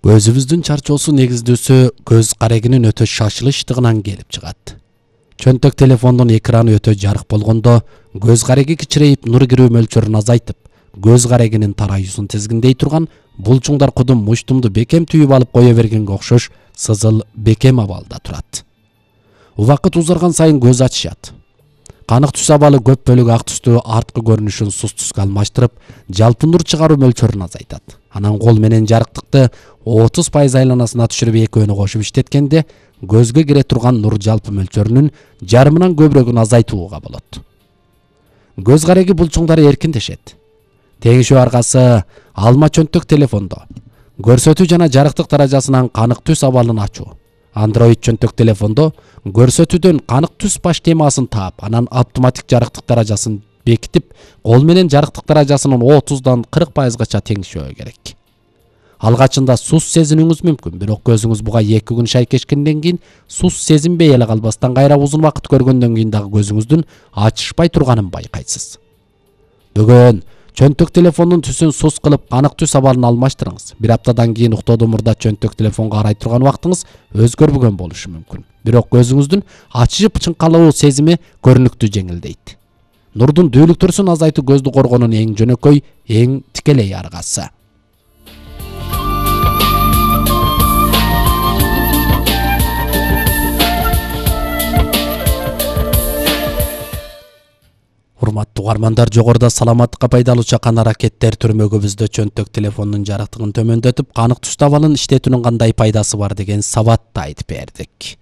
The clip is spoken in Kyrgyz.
Көзүбүздүн чарчоосу негиздүүсү көз карегинин өтө шашылыштыгынан келип чыгат. Чөнтөк телефондун экраны өтө жарык болгондо көз кареги кичирейип нур кирүү мөлчөрүн азайтып, көз карегинин тараюусун тизгиндей турган булчуңдар кудум муштумду бекем түйүп алып кое бергенге окшош сызыл бекем абалда турат. Убакыт узарган сайын көз ачышат. Канык түс абалы көп бөлүгү ак түстүү арткы көрүнүшүн сус түскө алмаштырып, жалпы нур чыгаруу мөлчөрүн азайтат. Анан кол менен жарыктыкты 30% айланасына түшүрүп экөөнү кошуп иштеткенде көзгө кире турган нур жалпы мөлчөрүнүн жарымынан көбүрөгүн азайтууга болот. Көз кареги булчуңдары эркиндешет. Тегишүү аркасы алма чөнтөк телефондо көрсөтүү жана жарыктык даражасынан канык түс абалын ачуу. Android чөнтөк телефондо көрсөтүүдөн канык түс баш темасын таап, анан автоматик жарыктык даражасын бекитип, кол менен жарыктык даражасынын 30дан 40%гача теңишөө керек. Алгачында сус сезинүүңүз мүмкүн, бирок көзүңүз буга 2 күн шайкешкенден кийин сус сезинбей эле калбастан кайра узун убакыт көргөндөн кийин дагы көзүңүздүн ачышпай турганын байкайсыз. Бүгүн чөнтөк телефондун түсүн сус кылып канык түс абалын алмаштырыңыз. 1 аптадан кийин уктоодон мурда чөнтөк телефонго карай турган убактыңыз өзгөрбөгөн болушу мүмкүн. Бирок көзүңүздүн ачышып чыңкалуу сезими көрүнүктүү жеңилдейт. Нурдун дүүлүктөрүн азайтуу көздү коргоонун эң жөнөкөй, эң тикелей аргасы. Урматтуу угармандар, жогоруда саламаттыкка пайдалуу чакан аракеттер түрмөгүбүздө чөнтөк телефондун жарыктыгын төмөндөтүп, канык түстүү абалын иштетүүнүн кандай пайдасы бар деген сабатты айтып бердик.